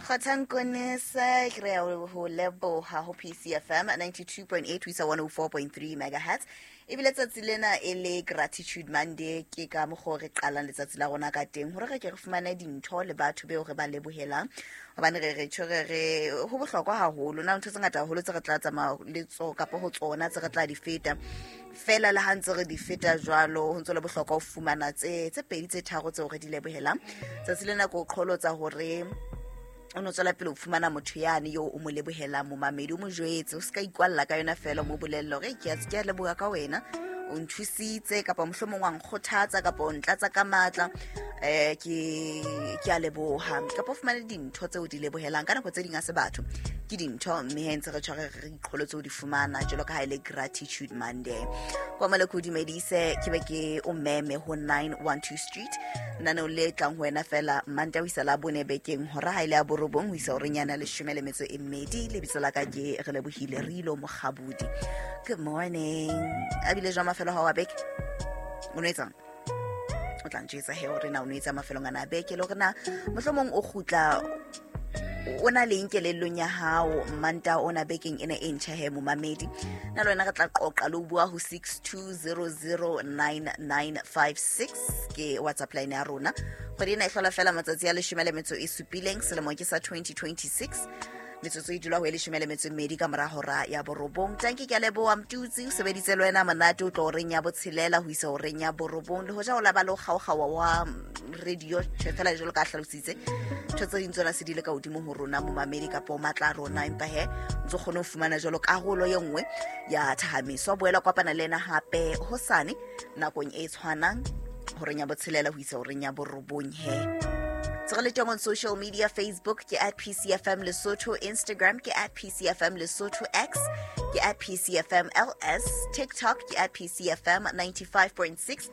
Kgothang Konesa, ke re ho leboha ho PCFM 92.8 ho isa 104.3 megahertz. Ebile tsatsi lena e le Gratitude Monday, ke ka mokgwa o re qalang letsatsi la rona ka teng hore re ke re fumane dintho le batho beo re ba lebohelang, hobane re re tjho re re ho bohlokwa haholo. Na ntho tse ngata haholo tse re tla tsamaya le tso kapa ho tsona tse re tla di feta fela, le ha ntse re di feta jwalo, ho ntse le bohlokwa ho fumana tse pedi, tse tharo tseo re di lebohelang. Tsatsi lena ke o qholotsa hore o no tswela pele ho fumana motho yane yo o mo lebohelang. Momamedi, o mo jwetse, o se ka ikwalla ka yona fela, o mo bolelle hore ke a leboha ka wena, o nthusitse, kapa mohlomong wa nkgothatsa, kapa o ntlatsa ka matla, ke a leboha. Kapa o fumane dintho tseo di lebohelang. Ka nako tse ding a se batho, ke dintho, mme he ntse re tshware re iqholotse ho di fumana jwalo ka ha e le Gratitude Monday. Kwa mole ke o dumedise, ke be ke o meme ho 912 Street, lenaneo le tlang ho wena fela Manta ho isa la bone bekeng, hora ha ile ya 9 ho isa horeng yana 12. Lebitso la ka ke Re Lebohile Rilo Mokgabudi. Good morning. A bile jwa mafelo ha wa beke? O no etsang? O tla ntjwetsa he hore na o no etsa mafelong ana a beke, le hore na mohlomong o kgutla o na leng kelellong ya hao Manta ona bekeng ena e ntjha. He momamedi, na le wena re tla qoqa le ho bua ho 62009956, ke WhatsApp line ya rona. Kgwedi ena e hlola fela matsatsi a 17, selemo ke sa 2026. Metsotso e dula ho e 12 ka mora hora ya 9. Tanki, ke a leboha. Mtutsi o sebeditse le wena monate o tlo horeng ya 6 ho isa horeng ya 9, le hoja o laba le ho kgaokgaoa wa radio. Tjhe, fela jwalo ka hlalositse, ntho tse ding tsona se di le ka hodimo ho rona momamedi kapa o matla a rona, empa he ntse kgone ho fumana jwalo karolo ye nngwe ya thahamiso. Boela kopana le ena hape hosane nakong e tshwanang, horeng ya 6 ho isa horeng ya 9. He tse re le teng on social media: Facebook ke @PCFMLesotho, Instagram ke @PCFMLesotho, X ke @PCFMLS, TikTok ke @PCFM 95.6.